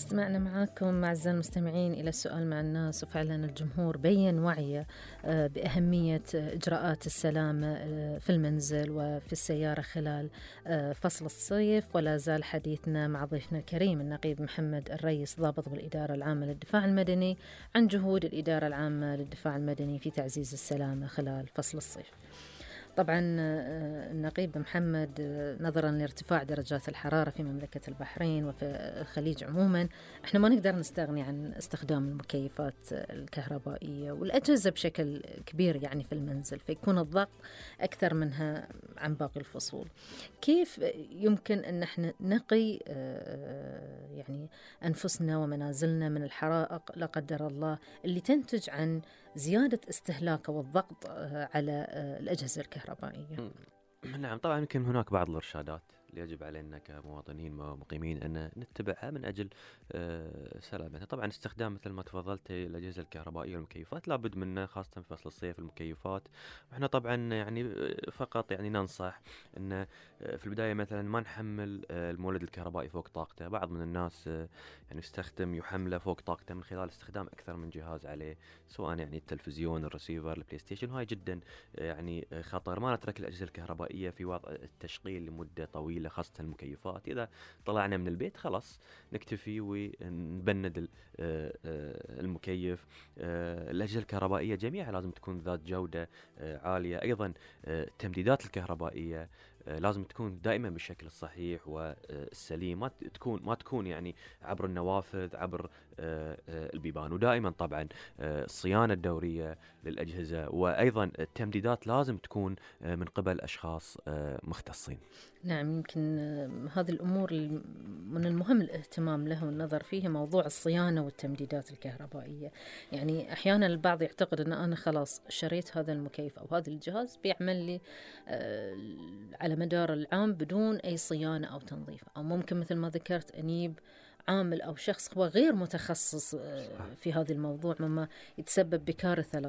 استمعنا معاكم أعزائي المستمعين إلى السؤال مع الناس، وفعلا الجمهور بيّن وعيه بأهمية إجراءات السلامة في المنزل وفي السيارة خلال فصل الصيف. ولا زال حديثنا مع ضيفنا الكريم النقيب محمد الريس ضابط بالإدارة العامة للدفاع المدني عن جهود الإدارة العامة للدفاع المدني في تعزيز السلامة خلال فصل الصيف. طبعا النقيب محمد، نظرا لارتفاع درجات الحرارة في مملكة البحرين وفي الخليج عموما، احنا ما نقدر نستغني عن استخدام المكيفات الكهربائية والأجهزة بشكل كبير يعني في المنزل، فيكون الضغط أكثر منها عن باقي الفصول. كيف يمكن أن احنا نقي يعني أنفسنا ومنازلنا من الحرائق لا قدر الله اللي تنتج عن زيادة استهلاك والضغط على الأجهزة الكهربائية؟ نعم، طبعا يمكن هناك بعض الإرشادات اللي يجب علينا كمواطنين ومقيمين أن نتبعها من أجل سلامتنا. طبعا استخدام مثل ما تفضلت الأجهزة الكهربائية والمكيفات لابد منه، خاصة في فصل الصيف المكيفات. وإحنا طبعا يعني فقط يعني ننصح أن في البداية مثلا ما نحمل المولد الكهربائي فوق طاقته. بعض من الناس يعني يحمله فوق طاقته من خلال استخدام أكثر من جهاز عليه، سواء يعني التلفزيون، الرسيفر، البلاي ستيشن. وهاي جدا يعني خطر. ما نترك الأجهزة الكهربائية في وضع التشغيل لمدة طويلة، خاصة المكيفات. إذا طلعنا من البيت خلاص نكتفي ونبند المكيف. الأجهزة الكهربائية جميعها لازم تكون ذات جودة عالية. أيضا التمديدات الكهربائية لازم تكون دائما بالشكل الصحيح والسليم، ما تكون يعني عبر النوافذ، عبر البيبان. ودائما طبعا الصيانة الدورية للأجهزة، وأيضا التمديدات لازم تكون من قبل أشخاص مختصين. نعم، يمكن هذه الأمور من المهم الاهتمام لها والنظر فيها، موضوع الصيانة والتمديدات الكهربائية. يعني أحيانا البعض يعتقد أن أنا خلاص شريت هذا المكيف أو هذا الجهاز بيعمل لي على مدار العام بدون أي صيانة أو تنظيف، أو ممكن مثل ما ذكرت أنيب عامل أو شخص هو غير متخصص في هذا الموضوع، مما يتسبب بكارثة